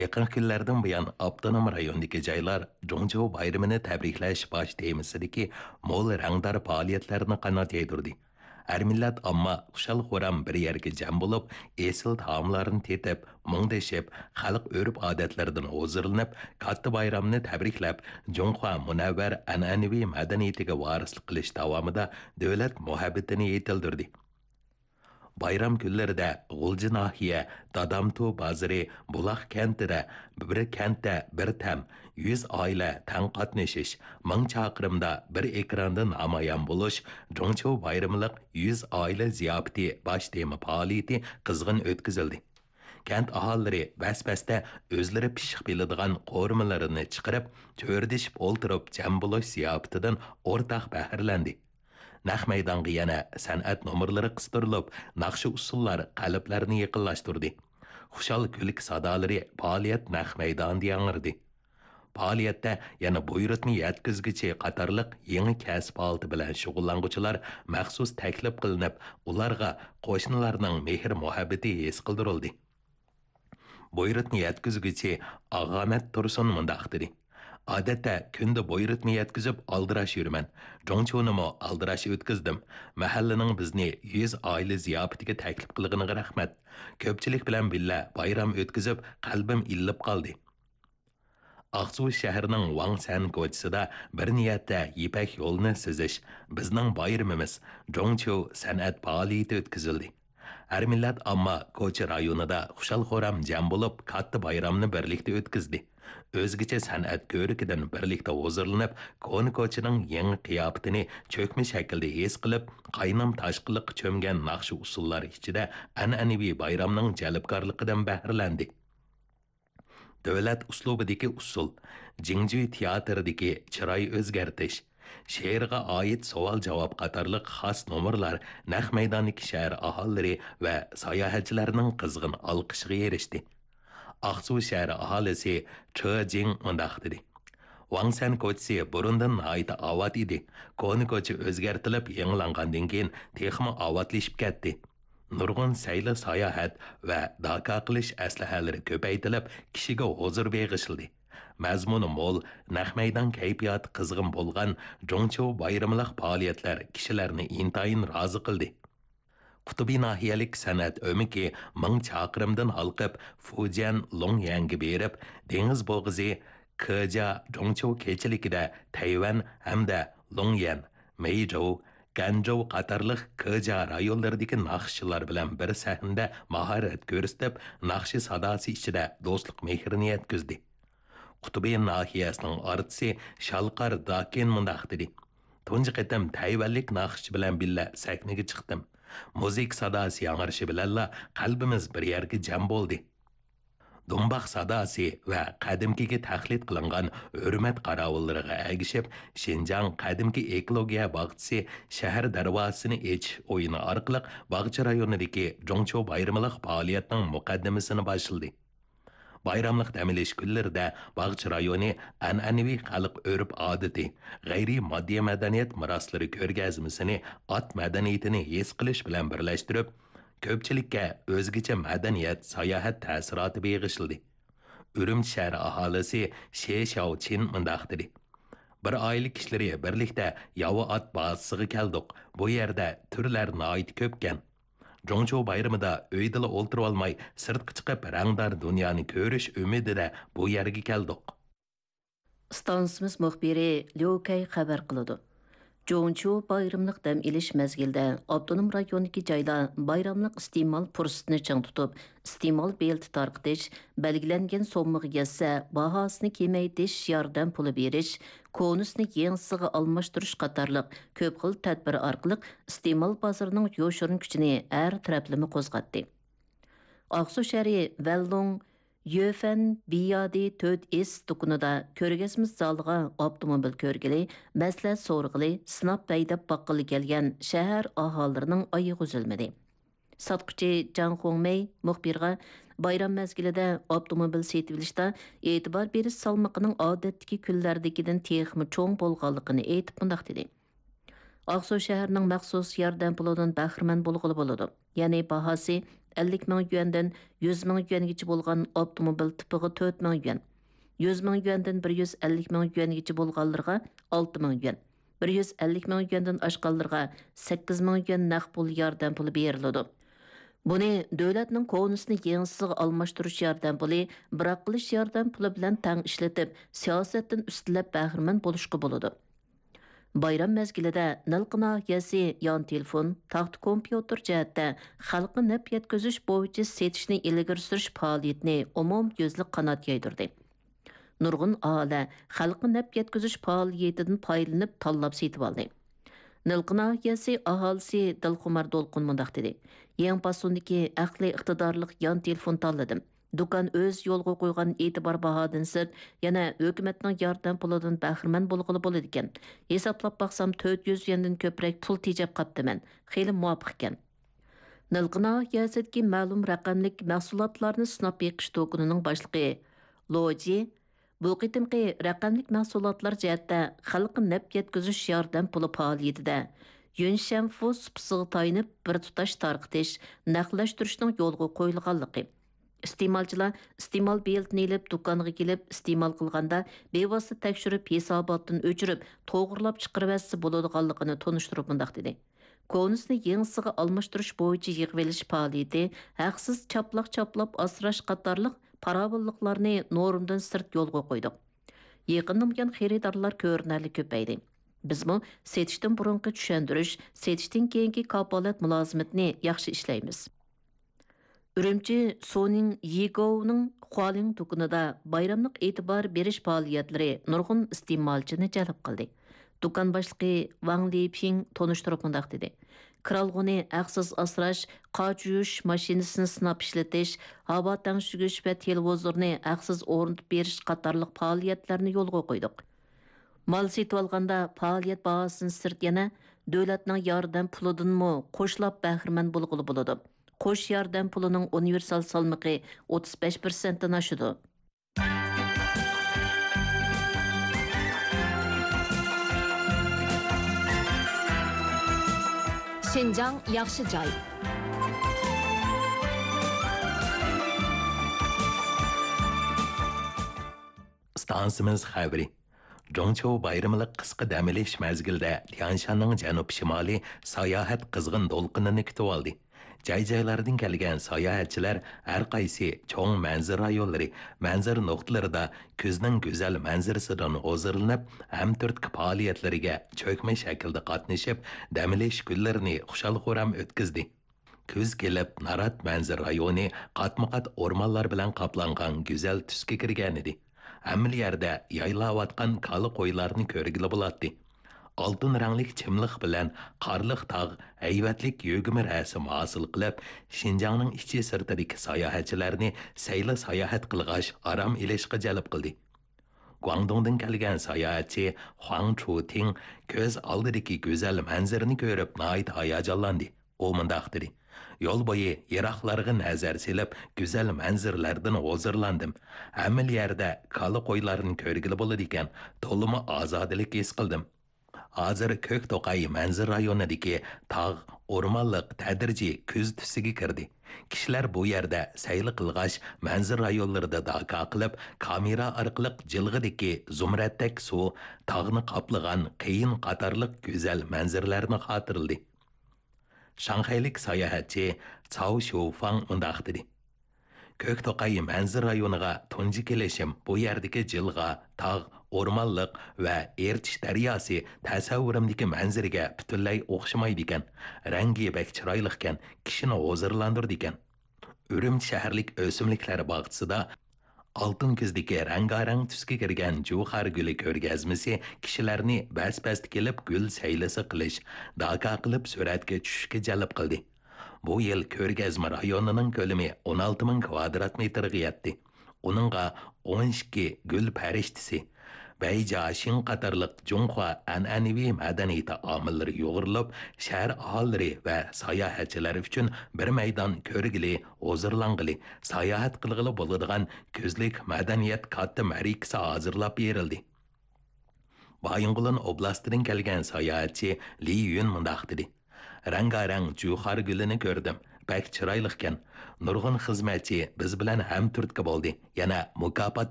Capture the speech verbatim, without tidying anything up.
يېقىنقى كۈنلەردىن بۇيان، ئاپتونوم رايوندىكى جايلار جۇڭچيۇ بايرىمىنى تەبرىكلەش باش تېمىسىدىكى مول رەڭدار پائالىيەتلەرنى قانات يايدۇردى. ھەر مىللەت ئامما خۇشال-خۇرام بىر يەرگە جەم بولۇپ، ئېسىل تائاملارنى تېتىپ، مۇڭدىشىپ، خەلق ئۆرپ-ئادەتلىرىدىن ھۇزۇرلىنىپ، كاتتا بايرامنى تەبرىكلەپ، جۇڭخۇا مۇنەۋۋەر ئەنئەنىۋى مەدەنىيىتىگە ۋارىسلىق قىلىش داۋامىدا دۆلەت مۇھەببىتىنى يېتىلدۈردى. بايرام كۈنلىرىدە غۇلجا ناھىيە دادامتۇ بازىرى، بۇلاق كەنتىدە بىر كەنتتە بىر تەم، يۈز ئائىلە تەڭ قاتنىشىش، مىڭ چاقىرىمدا بىر ئېكراندا نامايان بولۇش، جۇڭچيۇ بايرىملىق يۈز ئائىلە زىياپىتى باش تېما پائالىيىتى قىزغىن ئۆتكۈزۈلدى. كەنت ئاھالىلىرى بەس-بەستە ئۆزلىرى پىششىق بىلىدىغان قورۇمىلىرىنى چىقىرىپ، چۆرىدىشىپ ئولتۇرۇپ جەم بولۇش زىياپىتىدىن ئورتاق بەھرىلەندى. نەق مەيدانغا يەنە سەنئەت نومۇرلىرى قىستۇرۇلۇپ، ناخشا-ئۇسسۇللار قەلبلەرنى يېقىنلاشتۇردى. خۇشال كۈلكە سادالىرى پائالىيەت نەق مەيدانىدا ياڭرىدى. پائالىيەتتە يەنە بۇيرۇتما يەتكۈزگۈچى قاتارلىق يېڭى كەسىپ ھالىتى بىلەن شۇغۇللانغۇچىلار مەخسۇس تەكلىپ قىلىنىپ، ئۇلارغا قوشنىلارنىڭ مېھىر-مۇھەببىتى ھېس قىلدۇرۇلدى. بۇيرۇتما يەتكۈزگۈچى ئاغامەت تۇرسۇن مۇنداق دېدى: «ئادەتتە كۈندە بۇيرۇتما يەتكۈزۈپ ئالدىراش يۈرىمەن. جۇڭچيۇنىمۇ ئالدىراش ئۆتكۈزدۈم. مەھەللىنىڭ بىزنى يۈز ئائىلە زىياپىتىگە تەكلىپ قىلغىنىغا رەھمەت. كۆپچىلىك بىلەن بىللە بايرام ئۆتكۈزۈپ، قەلبىم ئىللىپ قالدى.» ئاقسۇ شەھىرىنىڭ ۋاڭسەن كوچىسىدا بىر نىيەتتە يىپەك يولىنى سىزىش، بىزنىڭ بايرىمىمىز، جۇڭچيۇ سەنئەت پائالىيىتى ئۆتكۈزۈلدى. ھەر مىللەت ئامما كوچا رايونىدا خۇشال-خۇرام جەم بولۇپ، كاتتا بايرامنى بىرلىكتە ئۆتكۈزدى. ئۆزگىچە سەنئەت كۆرىكىدىن بىرلىكتە ھۇزۇرلىنىپ، كونا كوچىنىڭ يېڭى قىياپىتىنى چۆكمە شەكىلدە ھېس قىلىپ، قاينام-تاشقىنلىققا چۆمگەن ناخشا-ئۇسسۇللار ئىچىدە ئەنئەنىۋى بايرامنىڭ جەلپكارلىقىدىن بەھرىلەندى. دۆلەت ئۇسلۇبىدىكى ئۇسسۇل، جىڭجۈي تىياتىرىدىكى چىراي ئۆزگەرتىش، شېئىرغا ئائىت سوئال-جاۋاب قاتارلىق خاس نومۇرلار نەق مەيداندىكى شەھەر ئاھالىلىرى ۋە ساياھەتچىلەرنىڭ قىزغىن ئالقىشىغا ئېرىشتى. ئاقسۇ شەھىرى ئاھالىسى چې جىڭ مۇنداق دېدى: «ۋاڭسەن كوچىسى بۇرۇندىن ناھايىتى ئاۋات ئىدى. كونا كوچا ئۆزگەرتىلىپ يېڭىلانغاندىن كېيىن تېخىمۇ ئاۋاتلىشىپ كەتتى. نۇرغۇن سەيلە ساياھەت ۋە داكا قىلىش ئەسلىھەلىرى كۆپەيتىلىپ، كىشىگە ھۇزۇر بېغىشلىدى. مەزمۇنى مول، نەق مەيدان كەيپىياتى قىزغىن بولغان جۇڭچيۇ بايرىملىق پائالىيەتلەر كىشىلەرنى ئىنتايىن رازى قىلدى.» قۇتۇبى ناھىيەلىك سەنئەت ئۆمىكى مىڭ چاقىرىمدىن ھالقىپ، فۇجيەن لۇڭيەنگە بېرىپ، دېڭىز بوغۇزى، كېجيا جۇڭچيۇ كېچىلىكىدە تەيۋەن ھەمدە لۇڭيەن، مېيجوۋ، گەنجوۋ قاتارلىق كېجيا رايونلىرىدىكى ناخشىچىلار بىلەن بىر سەھنىدە ماھارەت كۆرسىتىپ، ناخشا ساداسى ئىچىدە دوستلۇق مېھرىنى يەتكۈزدى. قۇتۇبى ناھىيەسىنىڭ ئارتىسى شالقار داكىن مۇنداق دېدى: «تۇنجى قېتىم تەيۋەنلىك ناخشىچى بىلەن بىللە سەھنىگە چىقتىم. مۇزىكا ساداسى ياڭرىشى بىلەنلا قەلبىمىز بىر يەرگە جەم بولدى.» دۇمباق ساداسى ۋە قەدىمكىگە تەقلىد قىلىنغان ھۆرمەت قاراۋۇللىرىغا ئەگىشىپ، شىنجاڭ قەدىمكى ئېكولوگىيە باغچىسى شەھەر دەرۋازىسىنى ئېچىش ئويۇنى ئارقىلىق باغچە رايونىدىكى جۇڭچيۇ بايرىملىق پائالىيەتنىڭ مۇقەددىمىسىنى باشلىدى. بايراملىق دەم ئېلىش كۈنلىرىدە باغچە رايونى ئەنئەنىۋى خەلق ئۆرپ-ئادىتى، غەيرىي ماددىي مەدەنىيەت مىراسلىرى كۆرگەزمىسىنى، ئات مەدەنىيىتىنى ھېس قىلىش بىلەن بىرلەشتۈرۈپ، كۆپچىلىككە ئۆزگىچە مەدەنىيەت، ساياھەت تەسىراتى بېغىشلىدى. ئۈرۈمچى شەھىرى ئاھالىسى شې شياۋچىن مۇنداق دېدى: «بىر ئائىلە كىشىلىرى بىرلىكتە ياۋا ئات بازىسىغا كەلدۇق. بۇ يەردە تۈرلەر ناھايىتى كۆپكەن. جۇڭچيۇ بايرىمىدا ئۆيدىلا ئولتۇرۇۋالماي، سىرتقا چىقىپ رەڭدار دۇنيانى كۆرۈش ئۈمىدىدە بۇ يەرگە كەلدۇق.» ئىستانسىمىز مۇخبىرى ليۇ كەي خەۋەر قىلىدۇ. جۇڭچيۇ بايرىملىق دەم ئېلىش مەزگىلىدە ئاپتونوم رايوندىكى جايلار بايراملىق ئىستېمال پۇرسىتىنى چىڭ تۇتۇپ، ئىستېمال بېلىتى تارقىتىش، بەلگىلەنگەن سوممىغا يەتسە، باھاسىنى كېمەيتىش، ياردەم پۇلى بېرىش، كونىسىنى يېڭىسىغا ئالماشتۇرۇش قاتارلىق كۆپ خىل تەدبىر ئارقىلىق ئىستېمال بازىرىنىڭ يوشۇرۇن كۈچىنى ھەر تەرەپلىمە قوزغاتتى. ئاقسۇ شەھىرى ۋەنلۇڭ يۆفەن بىيادى تۆت ئېس دۇكىنىدا كۆرگەزمە زالىغا ئاپتوموبىل كۆرگىلى، مەسلىھەت سورىغىلى، سىناپ ھەيدەپ باققىلى كەلگەن شەھەر ئاھالىلىرىنىڭ ئايىغى ئۈزۈلمىدى. ساتقۇچى جاڭ خۇڭمەي مۇخبىرغا بايرام مەزگىلىدە ئاپتوموبىل سېتىۋېلىشتا ئېتىبار بېرىش سالمىقىنىڭ ئادەتتىكى كۈنلەردىكىدىن تېخىمۇ چوڭ بولغانلىقىنى ئېيتىپ مۇنداق دېدى: «ئاقسۇ شەھىرىنىڭ مەخسۇس ياردەم پۇلىدىن بەھرىمەن بولغىلى بولىدۇ. يەنى باھاسى ئەللىك مىڭ يۈەندىن يۈز مىڭ يۈەنگىچە بولغان ئاپتوموبىل تىپىغا تۆت مىڭ يۈەن، يۈز مىڭ يۈەندىن بىر يۈز ئەللىك مىڭ يۈەنگىچە بولغانلىرىغا ئالتە مىڭ يۈەن، بىر يۈز ئەللىك مىڭ يۈەندىن ئاشقانلىرىغا سەككىز مىڭ يۈەن نەق پۇل ياردەم پۇلى بېرىلىدۇ. بۇنى دۆلەتنىڭ كونىسىنى يېڭىسىغا ئالماشتۇرۇش ياردەم پۇلى، بىراق قىلىش ياردەم پۇلى بىلەن تەڭ ئىشلىتىپ، سىياسەتتىن ئۈستۈنلەپ بەھرىمەن بولۇشقا بولىدۇ. بايرام مەزگىلىدە نىلقا ناھىيەسى يان تېلېفون، تاختا كومپيۇتېر جەھەتتە خەلققە نەپ يەتكۈزۈش بويىچە سېتىشنى ئىلگىرى سۈرۈش پائالىيىتىنى ئومۇميۈزلۈك قانات يايدۇردى. نۇرغۇن ئاھالە خەلققە نەپ يەتكۈزۈش پائالىيىتىدىن پايدىلىنىپ تاللاپ سېتىۋالدى. نىلقا ناھىيەسى ئاھالىسى دىلخۇمار دولقۇن مۇنداق دېدى: يېڭى پاسوندىكى ئەقلىي ئىقتىدارلىق يان تېلېفون تاللىدىم. دۇكان ئۆز يولغا قويغان ئېتىبار باھادىن سىرت، يەنە ھۆكۈمەتنىڭ ياردەم پۇلىدىن بەھرىمەن بولغىلى بولىدىكەن. ھېسابلاپ باقسام، تۆت يۈز يۈەندىن كۆپرەك پۇل تېجەپ قاپتىمەن. خېلى مۇۋاپىقكەن. نىلقا ناھىيەسىدىكى مەلۇم رەقەملىك مەھسۇلاتلارنى سىناپ بېقىش دۇكىنىنىڭ باشلىقى لو جى بۇ قېتىمقى رەقەملىك مەھسۇلاتلار جەھەتتە خەلققە نەپ يەتكۈزۈش ياردەم پۇلى پائالىيىتىدە يۈنشەنفۇ سۇپىسىغا تايىنىپ بىر تۇتاش تارقىتىش، نەقلەشتۈرۈشنىڭ يولغا قويۇلغانلىقى، ئىستېمالچىلار ئىستېمال بېلىتىنى ئېلىپ، دۇكانغا كېلىپ ئىستېمال قىلغاندا، بىۋاسىتە تەكشۈرۈپ، ھېساباتتىن ئۆچۈرۈپ، توغرىلاپ چىقىرىۋەتسە بولىدىغانلىقىنى تونۇشتۇرۇپ مۇنداق دېدى: كونىسىنى يېڭىسىغا ئالماشتۇرۇش بويىچە يىغىۋېلىش پائالىيىتى، ھەقسىز چاپلاق چاپلاپ ئاسراش قاتارلىق پاراۋانلىقلارنى نورمىدىن سىرت يولغا قويدۇق. يېقىندىن بۇيان خېرىدارلار كۆرۈنەرلىك كۆپەيدى. بىزمۇ سېتىشتىن بۇرۇنقى چۈشەندۈرۈش، سېتىشتىن كېيىنكى كاپالەت مۇلازىمىتىنى ياخشى ئىشلەيمىز. ئۈرۈمچى سۇنىڭ يىگوۋنىڭ خۇالىڭ دۇكىنىدا بايراملىق ئېتىبار بېرىش پائالىيەتلىرى نۇرغۇن ئىستېمالچىنى جەلپ قىلدى. دۇكان باشلىقى ۋاڭ لىپىڭ تونۇشتۇرۇپ مۇنداق دېدى: كىرئالغۇنى ھەقسىز ئاسراش، قاچا يۇيۇش ماشىنىسىنى سىناپ ئىشلىتىش، ھاۋا تەڭشىگۈچ ۋە تېلېۋىزورنى ھەقسىز ئورنىتىپ بېرىش قاتارلىق پائالىيەتلەرنى يولغا قويدۇق. مال سېتىۋالغاندا پائالىيەت باھاسىدىن سىرت يەنە دۆلەتنىڭ ياردەم پۇلىدىنمۇ قوشلاپ بەھرىمەن بولغىلى بولىدۇ. قوش ياردەم پۇلىنىڭ ئۇنىۋېرسال سالمىقى ئوتتۇز بەش پىرسەنتتىن ئاشىدۇ. شىنجاڭ ياخشى جاي. ئىستانسىمىز خەۋىرى. جۇڭچيۇ بايرىملىق قىسقا دەم ئېلىش مەزگىلىدە تيانشاننىڭ جەنۇب-شىمالى ساياھەت قىزغىن دولقۇنىنى كۈتۈۋالدى. جاي-جايلاردىن كەلگەن ساياھەتچىلەر ھەر قايسى چوڭ مەنزىرە رايونلىرى، مەنزىرە نۇقتىلىرىدا كۈزنىڭ گۈزەل مەنزىرىسىدىن ھۇزۇرلىنىپ، ھەمتۈرتكە پائالىيەتلىرىگە چۆكمە شەكىلدە قاتنىشىپ، دەم ئېلىش كۈنلىرىنى خۇشال-خۇرام ئۆتكۈزدى. كۈز كېلىپ، نارات مەنزىرە رايونى قاتمۇقات ئورمانلار بىلەن قاپلانغان گۈزەل تۈسكە كىرگەنىدى. ھەممىلا يەردە يايلاۋاتقان كالا قويلارنى كۆرگىلى بولاتتى. ئالتۇن رەڭلىك چىملىق بىلەن قارلىق تاغ ھەيۋەتلىك يۆگىمە رەسىم ھاسىل قىلىپ، شىنجاڭنىڭ ئىچى سىرتىدىكى ساياھەتچىلەرنى سەيلە ساياھەت قىلغاچ ئارام ئېلىشقا جەلپ قىلدى. گۇاڭدۇڭدىن كەلگەن ساياھەتچى خۇاڭ چۇتىڭ كۆز ئالدىدىكى گۈزەل مەنزىرىنى كۆرۈپ ناھايىتى ھاياجانلاندى. ئۇ مۇنداق دېدى: يول بويى يىراقلارغا نەزەر سېلىپ، گۈزەل مەنزىرىلەردىن ھۇزۇرلاندىم. ھەممىلا يەردە كالا قويلارنى كۆرگىلى بولىدىكەن، تولىمۇ ئازادىلىك ھېس قىلدىم. ھازىر كۆكتوقاي مەنزىرە رايونىدىكى تاغ، ئورمانلىق تەدرىجىي كۈز تۈسىگە كىردى. كىشىلەر بۇ يەردە سەيلە قىلغاچ، مەنزىرە رايونلىرىدا داكا قىلىپ، كامېرا ئارقىلىق جىلغىدىكى زۇمرەتتەك سۇ، تاغنى قاپلىغان قېيىن قاتارلىق گۈزەل مەنزىرىلەرنى خاتىرىلىدى. شاڭخەيلىك ساياھەتچى چاۋ شيۇفاڭ مۇنداق دېدى: كۆكتوقاي مەنزىرە رايونىغا تۇنجى كېلىشىم بۇ يەردىكى جىلغا، تاغ، ئورمانلىق ۋە ئېرتىش دەرياسى تەسەۋۋۇرۇمدىكى مەنزىرىگە پۈتۈنلەي ئوخشىمايدىكەن. رەڭگى بەك چىرايلىقكەن، كىشىنى ھۇزۇرلاندۇرىدىكەن. ئۈرۈمچى شەھەرلىك ئۆسۈملۈكلەر باغچىسىدا ئالتۇن كۈزدىكى رەڭگارەڭ تۈسكە كىرگەن جۇخار گۈلى كۆرگەزمىسى كىشىلەرنى بەس-بەستە كېلىپ گۈل سەيلىسى قىلىش، داكا قىلىپ سۈرەتكە چۈشۈشكە جەلپ قىلدى. بۇ يىل كۆرگەزمە رايونىنىڭ كۆلىمى ئون ئالتە مىڭ كۋادرات مېتىرغا يەتتى. ئۇنىڭغا ئون ئىككى گۈل پەرىشتىسى، بەيجاشىڭ قاتارلىق جۇڭخۇا ئەنئەنىۋى مەدەنىيىتى ئامىللىرى يۇغۇرۇلۇپ، شەھەر ئاھالىلىرى ۋە ساياھەتچىلەر ئۈچۈن بىر مەيدان كۆرگىلى، ھۇزۇرلانغىلى، ساياھەت قىلغىلى بولىدىغان كۈزلۈك مەدەنىيەت كاتتا مەرىكىسى ھازىرلاپ بېرىلدى. بايىنغولىن ئوبلاستىدىن كەلگەن ساياھەتچى لى يۈن مۇنداق دېدى: رەڭگارەڭ جۇخار گۈلىنى كۆردۈم. بەك چىرايلىقكەن. نۇرغۇن خىزمەتچى بىز بىلەن ھەمتۈرتكە بولدى. يەنە مۇكاپات